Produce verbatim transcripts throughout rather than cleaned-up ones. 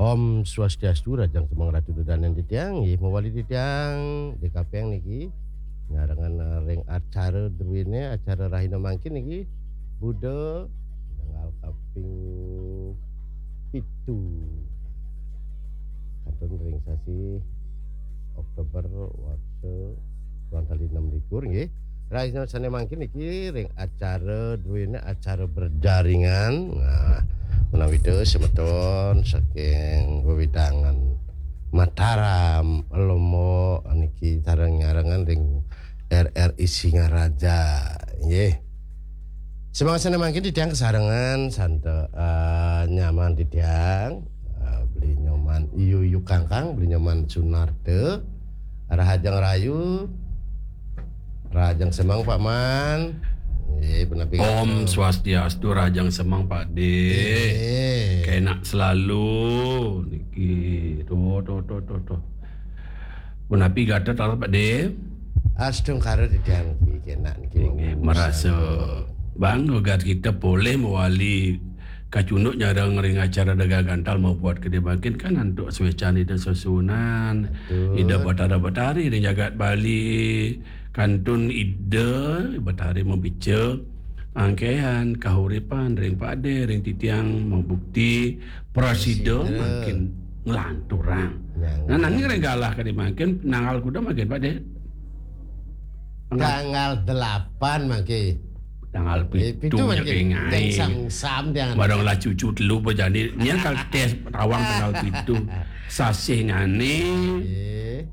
Om Swastiastu, rahajeng semeng Ratu Dodanen titiang, nggih mawali titiang D K P N niki nyarengan ring acara druéné, acara rahina mangkin niki Buda tanggal kaping pitu. Kantun ring sasi Oktober warsa dua tali enam likur nggih. Rahina sané mangkin niki ring acara druéné acara berjaringan. Nah, menawi semeton saking wewidangan Mataram, Lombok niki sareng nyarengan ring R R I Singaraja nggih. Semeng sané mangkin titiang kasarengan santa eh, nyaman titiang eh, Beli Nyoman Yuyu Kangkang, Beli Nyoman Sunarta, Rahajeng Rayu, Rahajeng Semeng Pak Man. Nggih, punapi Om Swastiastu, Rahajeng Semeng Pak De. Nggih. Kenak selalu niki. Tuh, tuh, tuh, tuh, tuh. Punapi gatra taler Pak De? Astungkara titiang niki kenak niki. Inggih, marasa bangga gatra kita polih mawali kacunduk nyareng ring acara Dega Gantal mabuat kedé mangkin kan antuk suécan Ida Sesuunan, Ida Batara Batari ring jagat Bali, kantun Ida Batari mabica angkéhan kahuripan ring Pak De, ring titiang mabukti prasida mangkin nglanturang. Nah, nanging ring galah kedé mangkin tanggal kuda mangkin Pak De? Tanggal delapan mangke. Tanggal pitu mangke. Sam-sam tiang. Barang lah cucu telu bejani. Nya kal tes tawang tanggal pitu. Sasih ngane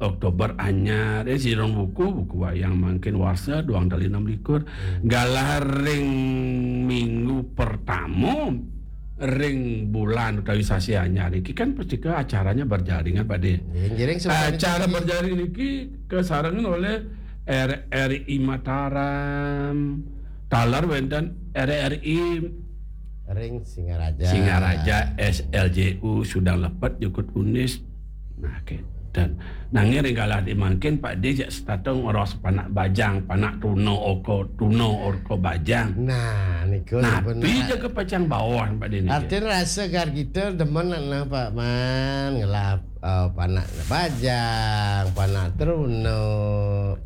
Oktober anyar. Eh, sirong buku, buku wayang mangkin warsa, duang tali enam likur. Galah ring minggu pertama ring bulan utawi sasih anyar iki kan pasti ke acaranya berjaringan, Pak De. Acara berjaringan iki kasarengan oleh R R I Mataram, taler wenten R R I ring Singaraja. Singaraja, S L J U, Sundang Lepet, Jukut Unis. Nah, kénten. Nanging ring galah di mangkin Pak De jak setata ngros panak bajang, panak tuna orka, tuna orka bajang. Nah, niku. Napi ja ke pacang bawah Pak De niki? Artin rasa gar kita demen nak nang Pak Man ngelah eh, panak bajang, panak teruna,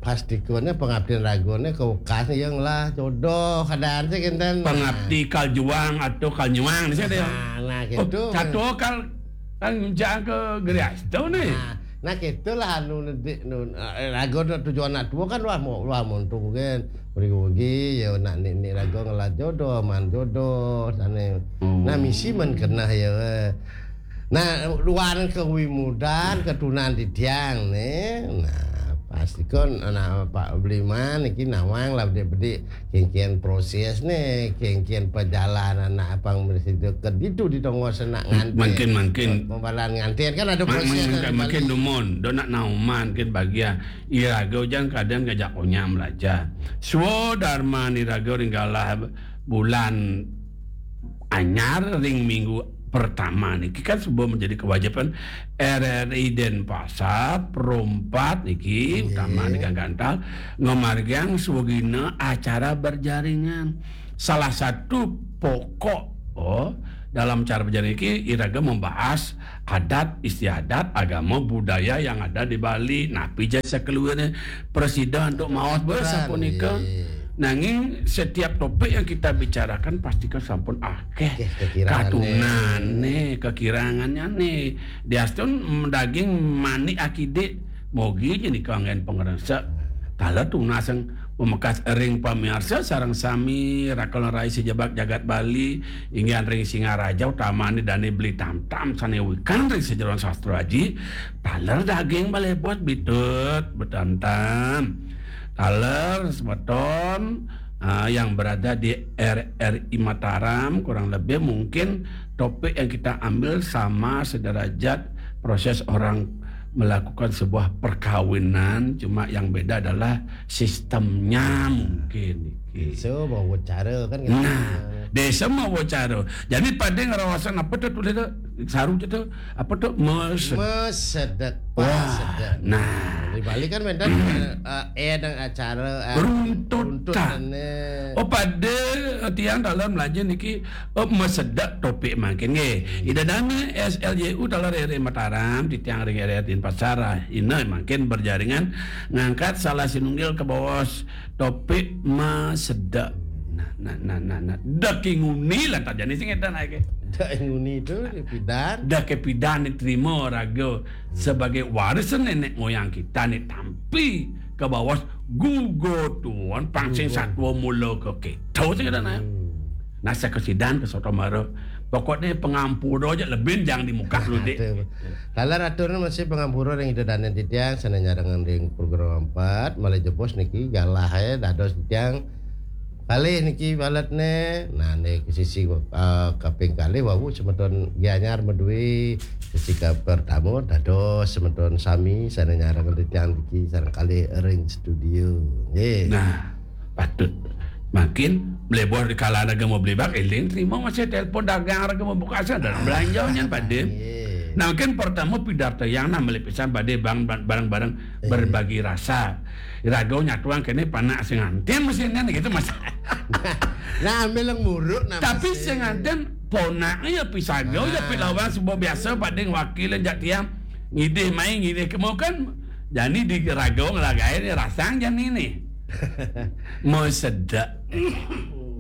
pastikune pengabdian ragune ke ukas ya ngelah jodoh keadaan sih kinten. Pengabdi kal juang atau kal nyuang ni saya. Nah, nah gitu. Satu kal kan ngunjang ke gerias tu ni. Nah, nah gitulah anu nedik nun eh, raga nak tujuan anak tua kan wah mau wah mau tu kan pergi pergi ya nak nik nik raga ngelah jodoh man jodoh sana. Nah misi man kena ya. Nah, luar kewimudan ketunan titiang nih. Nah, pasti kon anak Pak Bliman iki nawang lah bedik-bedik kengkian proses nih, kengkian perjalanan anak abang mesti ke ditu di tonggo senak ngantin. Mungkin mungkin pembalan ngantin kan ada proses. Mungkin dumun, do nak nauman kan bagian iraga ujan keadaan ngajak onyam belajar. Swadarman iraga ringgalah bulan anyar ring minggu pertama niki kan suba menjadi kewajiban R R I Denpasar perompat niki utama niki gantal ngamargiang swagina acara berjaringan. Salah satu pokok oh dalam cara berjaringan niki iraga membahas adat istiadat agama budaya yang ada di Bali. Napi ja sakeluarne presida untuk maos bes sapunika. Nanging setiap topik yang kita bicarakan pasti kan sampun akeh katunane, kekirangannya nih. Diastun daging manik akidik mogi nika anggen pangresa. Taler tunas yang memekas ring pamiarsa sareng sami rakal rai sejebak jagat Bali inggian ring Singaraja utamane dane beli tamtam sane wikan ring sejeroan sastra aji. Taler daging balebot bitut betamtam. Taler semeton uh, yang berada di R R I Mataram kurang lebih mungkin topik yang kita ambil sama sederajat proses orang melakukan sebuah perkawinan, cuma yang beda adalah sistemnya mungkin. So, mau cara kan gitu. Nah, desa mau cara. Jadi pada ngerawasan apa tuh tulis tuh? Saru tuh, apa tuh? Mes. Mesedek, Wah, pasedek. Nah. Di Bali kan mentan eh, eh dan acara eh, Runtut tak. Runtutane. Oh, pada tiang dalam lajeng niki, oh, mesedek topik mangkin nggih. Ida dana S L Y U dalam R R I Mataram, titiang ring R R I Denpasar, ina mangkin berjaringan ngangkat salah sinunggil ke bawah topik mesedek. Nah, nah, nah, nah, nah. Daki nguni lah tak jani sing edan ae. Dak nguni itu pidan. Dah kepidan diterima raga sebagai warisan nenek moyang kita ni tampi ke bawah gugur tuan pangsing satwa mula ke kita sing edan ae. Nah, saya kesidan ke soto mara. Pokoknya pengampura aja lebih jangan di muka lu, Dik. Taler atur masih pengampura ring ida danen titiang sana nyarengan ring program empat malih jebos niki galah ya dados titiang kalih niki baletne. Nah, niki sisi uh, kaping kalih wau semeton Gianyar Medwi sisi ka pertama dados semeton sami sana nyarengan titiang niki sareng kalih ring studio. Nggih. Nah, patut. Makin melebor di kala raga mau beli bak, eling terima masih telepon dagang raga mau buka asa dalam belanja nyan pada. Nggih. Nah, kan pertama pidarta yang nah melipisan pada bang bareng-bareng berbagi rasa. Raga nyatuan kene panak sing antin mesti nyan gitu mas. Nah, ambil yang muruk nah. Tapi mesti. Sing antin ponak ya pisaga ya Ah. pilawan sebuah biasa pada wakil jak tiang ngidih main ngidih kemau kan jadi di raga ngelagai ni rasang jan ini. Mau sedek.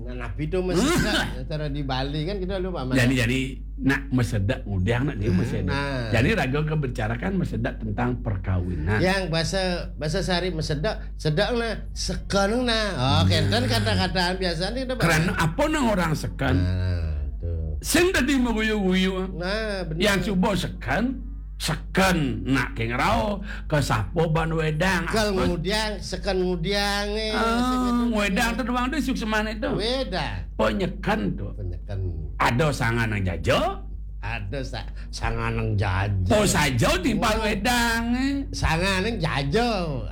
Nah, napi tu mesedek cara di Bali kan kita lupa mana. Jadi jadi nak mesedek ngudang nak dia mesedek. Nah. Jadi raga ke bercarakan mesedek tentang perkawinan. Yang bahasa bahasa sehari mesedek, sedek nah, seken nah. Oh, kan kata-kataan biasa ni kita. Kerana apa nang orang seken? Nah, tu. Sing tadi meguyu-guyu. Nah, benar. Yang cuba seken, seken nak ke ngerau, ke sapo ban wedang. Kal Apa? Ngudiang, seken Ngudiang eh. Ah, wedang tu doang tu sukseman itu. Wedang. Penyeken tu. Penyeken. Ada sangan yang jaja. Ada sa sangan yang jaja. Po saja timpal wedang eh. Sangan yang jaja.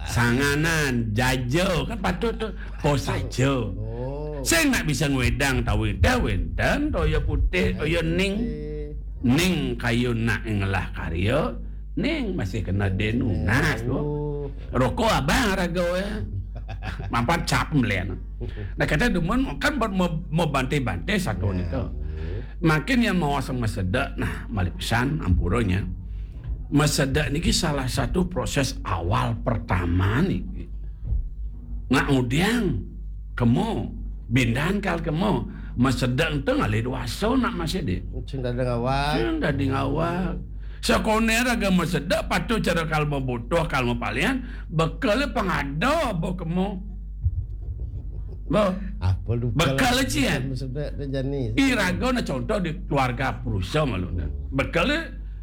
Sanganan, jaja kan patut tu. Po saja. Oh. Saya nak bisa ngwedang tahu dah wenten toya putih, toya ning. Eh, Ning kayu nak ngelah karya, ning masih kena denunas tu. Oh. Rokok abang raga ya. Mampan cap melian. Nah kata demen kan buat mau mau bantai-bantai satu ni tu. Makin yang mau asal mesedek, nah malik pesan ampuranya. Mesedek ni salah satu proses awal pertama ni. Ngak udiang kemo, bindan kal kemo, mesedek ente ngalih dewasa nak masih dik. Sing dadi ngawak. Sing dadi ngawak. Sekoner raga mesedek patut cara kal membutuh kal mepalian, bekal pengada bo kemo. Bo. Apa lupa. Bekal cian. Mesedek tu jani. Iraga na contoh di keluarga perusa malu na. Bekal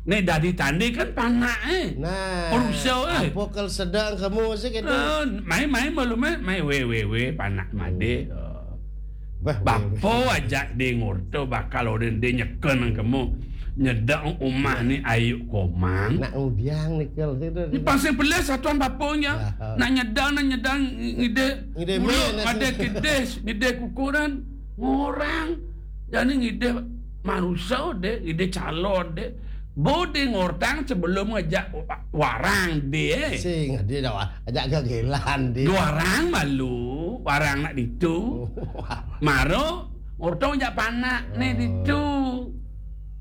ni dadi tandi kan panak eh. Nah. Perusa eh. Apa kal sedang kamu sih kita? Eh, mai mai malu mai mai we we we panak made. Bah, Bapa aja di ngurta bakal orang dia nyeken nang kemu. Nyedang umah ni ayu komang. Nak udiang ni kal situ. Ni pasal belas satuan bapanya. Ah. Nak nyedang nak nyedang ngide. Ngide Mulut men, ada kedis, ngide kukuran ngorang. Jadi ngide manusia deh, ngide calon deh. Bo deh ngortang sebelum ngejak wa- warang deh. Sing dia dah ajak gagelan dia. Dua orang malu, warang nak ditu. Wah. Maro ngortong jak panak ni ditu.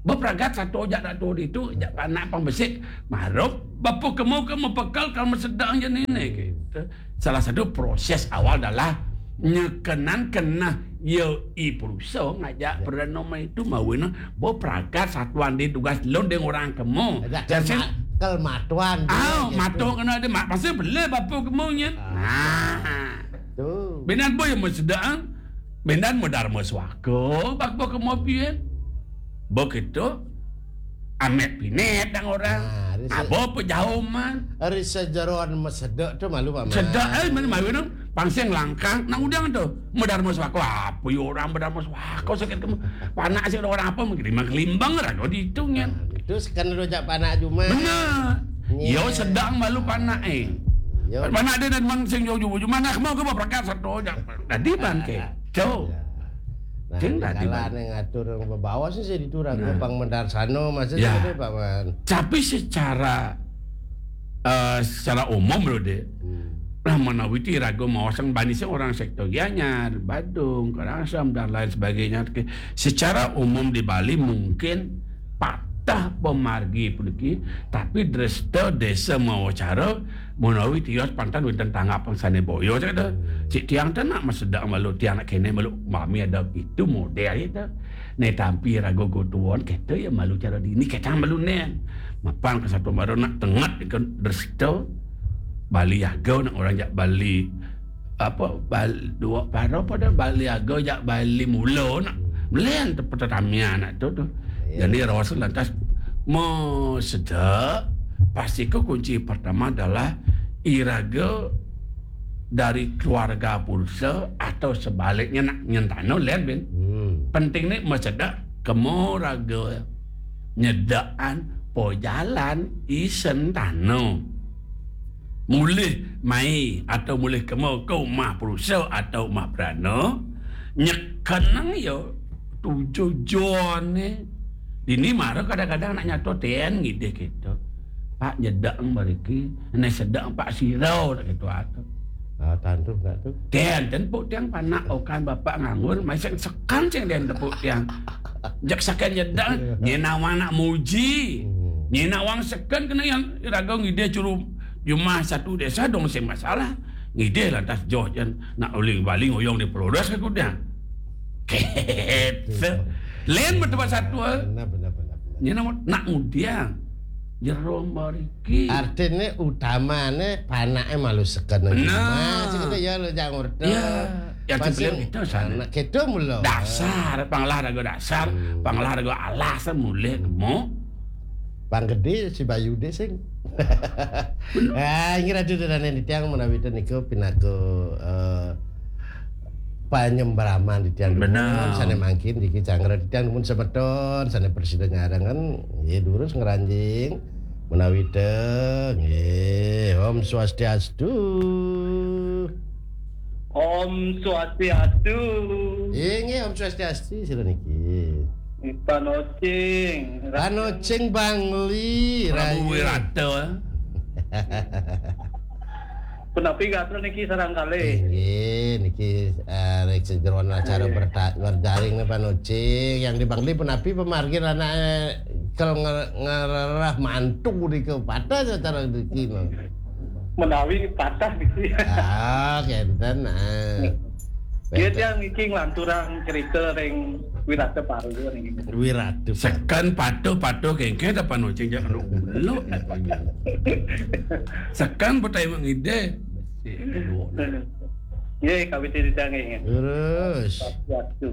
Beperagat satu jak nak tu ditu, jak panak pang besik. Maro bapa kemu ke mepekal kal mesedang je ni ni gitu. Salah satu proses awal adalah nyekenan kena ya i perusa ngajak perdana itu mawin bo peragat satuan di tugas lon deng orang kemu. Ajak Dan kal sen- ma- kal matuan dia Ah, gitu. Mato kena ada mak pasal bela bapa kemu nyen. Nah. Tu. Binan boy yang mesedang. Binan medarma suaka bapa kemu pian. Begitu. Amet pinet dang orang. Ah, dia se- Apa pejauh man. Hari sejeroan mesedek tu malu paman. Sedek eh mana malu nang pangsing langkang nang udang tu. Medarma suaka apa ya orang medarma suaka sakit kemu. Panak sih orang apa mengkelimbang kelimbang raga dihitung nyen. Itu sekan rojak panak cuma. Benar. Ya. Yo sedang malu panak eh. Ya. Mana ada dan mang sing jauh-jauh, mana mau ke berangkat satu aja. Tadi bangke. Jauh. Nah, sing tadi bang ngatur bebawa sih saya diturang nah. Bang Mendarsano masih ya. Ada Pak Man. Tapi secara uh, secara umum loh deh. Hmm. Lah menawi iraga maosang bani sing orang sektor Gianyar, Badung, Karangsem dan lain sebagainya. Secara umum di Bali mungkin patah pemargi puniki, tapi dresta desa mawacara menawi tios pantan wonten tanggapan sane boyo cek to. Cik tiang tenak masedak malu tiang nak kene malu mami ada itu model itu. Ne tampi rago gotuon kete ya malu cara dini kecang malu nen. Mapan ke satu baru nak tengat ke dresta Bali Yaga nak orang jak Bali apa Bali dua para pada Bali Yaga jak Bali mula nak melian tu pertamian nak tu tu. Jadi rasul lantas mau sedek pasti ke kunci pertama adalah iraga dari keluarga purusa atau sebaliknya nak nyentano lihat bin. Hmm. Penting ni masedak kemo raga nyedakan pojalan isen tano. Mulih mai atau mulih kemo ke rumah purusa atau rumah perana nyekenang ya tujuh jone. Dini mara kadang-kadang nak nyato ten ngidih kita. Pak nyedak mariki, ne sedang Pak sirau nak gitu atau. Ah, tantu enggak tu. Den, den puk tiang panak okan bapak nganggur, mai sing sekan sing den tepuk tiang. Jak sakan nyedak, nyenawa nak muji. Hmm. Nyenawa sekan kena yang raga ngidih curu jumah satu desa dong sing masalah. Ngidih lantas joh jen nak uling baling oyong di pelodas ke kuda. Gitu. Len betul satu. Benar, benar, benar. Nyenawa nak mudiang. Jero mariki. Artine utamane panake malu seken. Nah, sing ya lo jangan ngerti. Ya, yang sebelum itu sana. Anak kedo mulo. Dasar, panglah raga dasar, hmm. Panglah raga alas mulih kemo. Pang gede si Bayu de sing. Ah, ini ratu dan ini tiang menawi niku pinaku uh, panyembraman di tiang dumun sane mangkin diki canggra di tiang dumun semeton sane presiden nyarangan nggih durus ngranjing menawi te nggih Om Swastiastu. Om Swastiastu. Nggih Om Swastiastu sira niki. Panocing. Panocing Bangli. Prabu Wirata. Punapi gatra niki sarang kalih. Inggih, niki eh, rek sejeroan acara berta- berjaring nih Pak Nucing. Yang di Bangli punapi pemargin anak kel ngererah mantu di kepata secara rezeki no. Menawi patah niki. Ah, kenten ah. Dia tiang niki nglanturang cerita ring Wirata Parwa niki. Wirata. Sekan patuh-patuh kengke ta Pak Nucing jak kena uluk. Sekan petai mengide. Nggih, kawit cerita nggih. Terus. Waktu.